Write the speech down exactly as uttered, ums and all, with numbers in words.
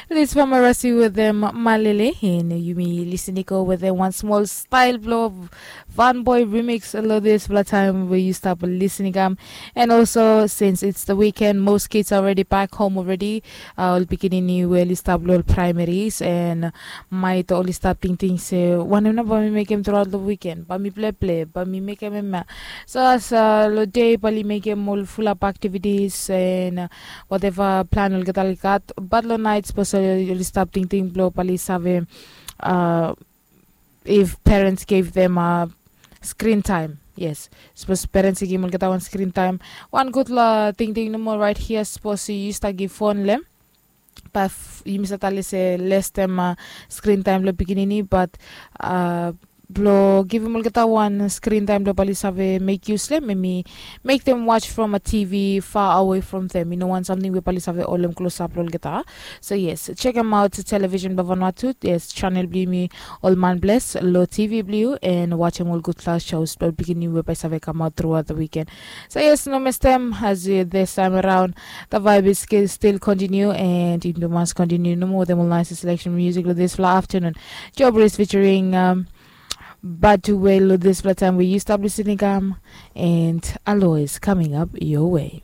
This from Arasi with them Malele, and yumi listening go with them one small style blow of Van Boy remix. Lo dispela taem we yu stap listening am. And also, since it's the weekend, most kids are already back home already. Uh, ol pikinini we oli stap lo ol primaries, and maet oli stap tingting se wanem na ba mi mekem throughout the weekend, ba mi pleple, ba mi mekem em ya. So as uh, lo dei ba oli mekem ol fulap activities and uh, whatever plan olgeta oli gat, but lo night suppose oli stap tingting blo ba oli save uh, if parents gave them uh, screen time. Yes, suppose parents i givim olgeta wan screen time. Wan gutpela tingting nomo right here, suppose yu stap givim phone lem, ba yumi stap tali se less time uh, screen time lo pikinini, but uh, blo givim olgeta wan screen time blo ba oli save make use lem, maybe make them watch from a T V far away from them. You know, one something we ba oli save olem close up lo olgeta. So yes, check them out, television blo Vanuatu. Yes, channel blo yumi ol man bless lo T V blo yu, and watch them all good class shows blo pikinini we ba i save come out throughout the weekend. So yes, no mess them as uh, this time around. The vibe is still, still continue, and you must continue no more them all nice selection music lo dispela afternoon. Jobris featuring um, But to well this time we used to be listening um, and Alois coming up your way.